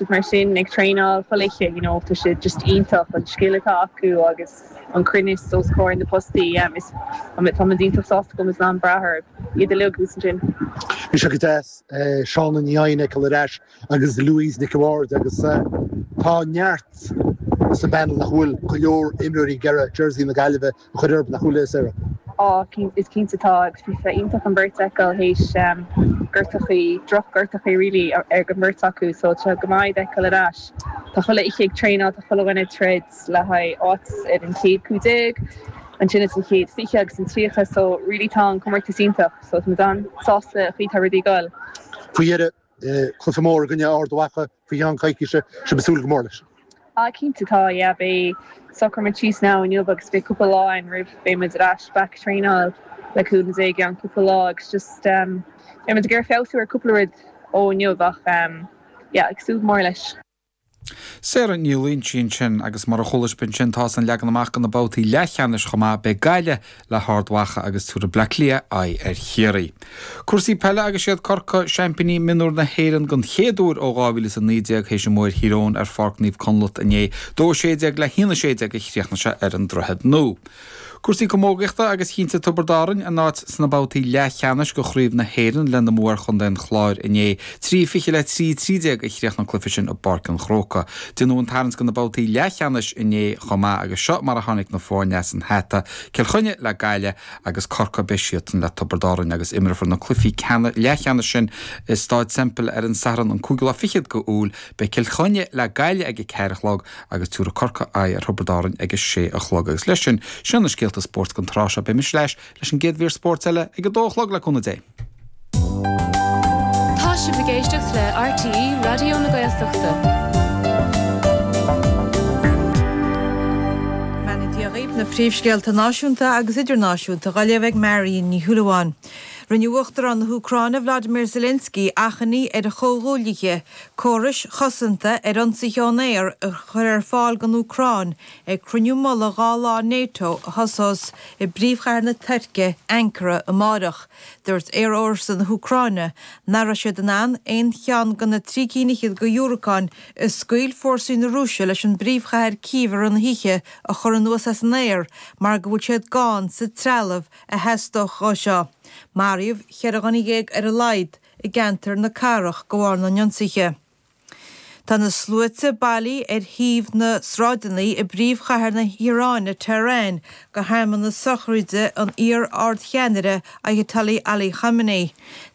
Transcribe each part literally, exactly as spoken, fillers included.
siad mar sin ag traenáil chuile oíche, you know, tá sé just iontach an scil atá acu agus an cruinneas os comhair na postaí um, is tá muid iontach sásta go bhfuil muid in ann brath ar iad uilig ansin. Bhí sé go deas eh, Shauna Ní Eidhin a fheiceáil ar ais agus Louise Nic an Bhaird agus eh, tá neart sa bpanel nach bhfuil go leor imreoirí ag iarraidh jersey na Gaillimhe a chur orthu nach bhfuil Sarah. Á is cinnte tá agus bhí sé iontach an bheirt a fheiceáil théis um, gortachaí drochghortachaí really ar an mbeirt acu so tá go maith a fheiceáil ar ais. Tá chuile oíche ag traenáil tá chuile dhuine ag troid le haghaidh áit ar an chéad cúig déag, ansin is an chéad fiche agus an tríocha so really tá an comórtas iontach so tá an-sásta faoi tá rudaí ag dul. Faoi dheireadh eh, cluiche mór i gcoinne Ard Mhacha faoi cheann coicíse sibh ag súil go mór leis. Ah cinnte tá yeah, beidh socraíodh síos now inniu agus beidh cúpla lá ann roimh beidh ar ais back traenáil le cúpla dé gan cúpla lá agus just um, beidh ag feabhsú ar cúpla rud ó inniu ach um, yeah, ag súil mór leis. Sarah Ní Loingsigh sin agus mar a chuala sibh sin tá an leagan amach do na babhtaí leathcheannais chomh maith beidh Gaillimh le hArd Mhacha agus tabharfaidh Bleá Cliath aghaidh ar Chiarraí. Cúrsaí peile agus siad Corcaigh seaimpíní mionúr na hÉireann den chéad uair ó dhá mhíle a naoi déag théis a mbua ar Thír Eoghain ar Pháirc Naomh Conleth inné dó sé déag le haon sé déag a chríochnaigh sé ar an Droichead Nua. Cúrsaí camógaíochta agus chinntigh Tiobraid Árann a n-áit sna babhtaí leathcheannais de Chraobh na hÉireann lena mbua ar Chontae an Chláir inné trí fiche le trí trí déag a chríochnaigh an cluiche sin i bPáirc an Chrócaigh. Déanadh an tarraingt do na babhtaí leathcheannais inné chomh maith agus seo mar a tháinig na foirne as an hata Cill Chainnigh le Gaillimh agus Corcaigh beidh siadsan le Tiobraid Árann agus imreofar na cluichí leathcheannais sin i Staid Semple ar an Satharn an cúigiú lá fichead d'Iúil beidh Cill Chainnigh le Gaillimh ag a ceathair a chlog agus tabharfaidh Corcaigh aghaidh ar Thiobraid Árann ag a sé a chlog agus leis sin sin na scéalta spóirt don tráth seo beidh mise ar ais leis an gcéad mhír spóirt eile ag a dó a chlog le cúnamh Dé. Tá sibh ag éisteacht le RTÉ Raidió na Gaeltachta. Beannacht na príomhscéalta náisiúnta agus idirnáisiúnta á léamh ag Marion Ní Shúilleabháin. Rinne Uachtarán na hÚcráine Vladimir Zelensky achainí ar a chomhghuaillithe córais chosanta ar ionsaithe ón aer a chur ar fáil don Úcráin ag cruinniú mullaigh dhá lá NATO a thosós i bpríomhchathair na Tuirce Ankara amárach. Dúirt aerfhórsa na hÚcráine nach raibh siad in ann aon cheann de na trí cinn fhichead de dhiúracáin a scaoil fórsaí na Rúise leis an bpríomhchathair Cív ar an oíche a chur anuas as an aer mar go bhfuil siad gann sa trealamh a theastódh dó seo. Maraíodh ceithre dhuine dhéag ar a laghad i gceantar na cathrach de bharr na n-ionsaithe. Tá na sluaite bailithe ar thaobh na sráideanna i bpríomhchathair na hIaráine Tehran do shearmanas sochraide an iar-ardcheannaire Ayatollah Ali Khamenei.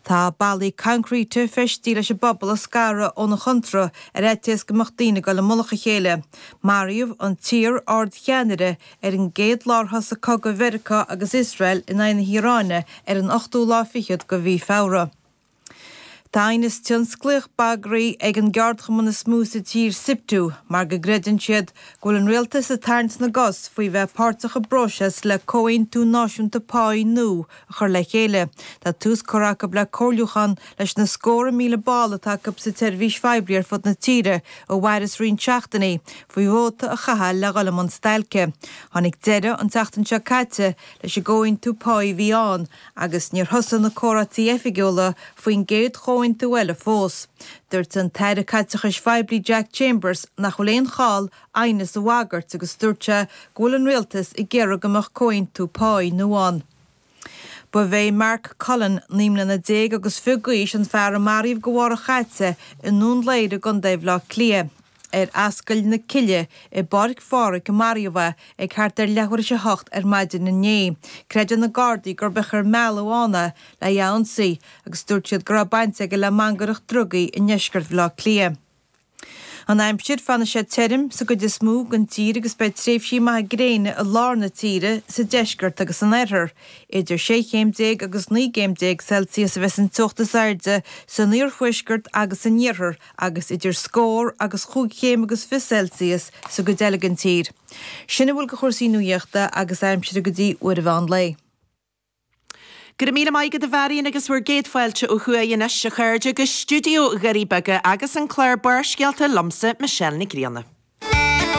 Tá ballaí coincréite feistithe leis an bpobal a scaradh óna chontúirt ar fhaitíos go mbeadh daoine ag dul i mullach a chéile. Maraíodh an t-iar-ardcheannaire ar an gcéad lá ar thosaigh cogadh Mheiriceá agus Iosrael in aghaidh na hIaráine ar an ochtú lá fichead de mhí Feabhra. Tá aighneas tionsclaíoch bagraithe ag an gceardchumann is mó sa tír SIPTU mar go gcreideann siad go bhfuil an rialtas ag tarraingt na gcos faoi bheith páirteach i bpróiseas le comhaontú náisiúnta páí nua a chur le chéile. Tá tús curtha acu le comhairliúchán leis na scórtha míle ball atá acu sa tseirbhís phoiblí ar fud na tíre a mhairfeas roinnt seachtainí faoi vóta a chaitheamh le dhul i mbun stailce. Tháinig deireadh an tseachtain seo caite leis an gcomhaontú páí a bhí ann agus níor thosaigh na comhráití oifigiúla faoin gcéad chomhaontú eile fós. Dúirt an tAire Caiteachais Phoiblí Jack Chambers nach bhfuil aon chall aighneas a bhagairt agus dúirt sé go bhfuil an rialtas ag iarraidh go mbeadh comhaontú páí nua ann. Ba é Mark Cullen naoi mbliana déag agus fiche d'aois an fear a maraíodh go mhárach chaite i nDún Laoghaire i gContae Bhaile Átha Cliath. Ar Ascaill na Cille i bPáirc Phádraig a maraíodh é ag thart ar leathuair tar éis a hocht ar maidin inné. Creideann na Gardaí gurb é gur mealladh ann é le é a ionsaí agus dúirt siad go raibh baint aige le mangaireacht drugaí i ndeisceart Bhaile Átha Cliath. An aimsir fanfaidh sé tirim sa gcuid is mó den tír agus beidh tréimhsí maithe gréine i lár na tíre sa deisceart agus san oirthear. Idir sé chéim déag agus naoi gcéim déag Celsius a bheas an teocht is airde san iarthuaisceart agus san iarthar agus idir scór agus chúig chéim agus fiche Celsius sa gcuid eile den tír. Sin a bhfuil de chúrsaí nuachta agus aimsire go dtí uair an mheán lae. Go raibh míle maith agat a Mharion agus bhur gcéad fáilte ó thuaidh anois a chairde go stiúideo Dhoirí Beaga agus an clár Barrscéalta liomsa Michelle Nic Grianna.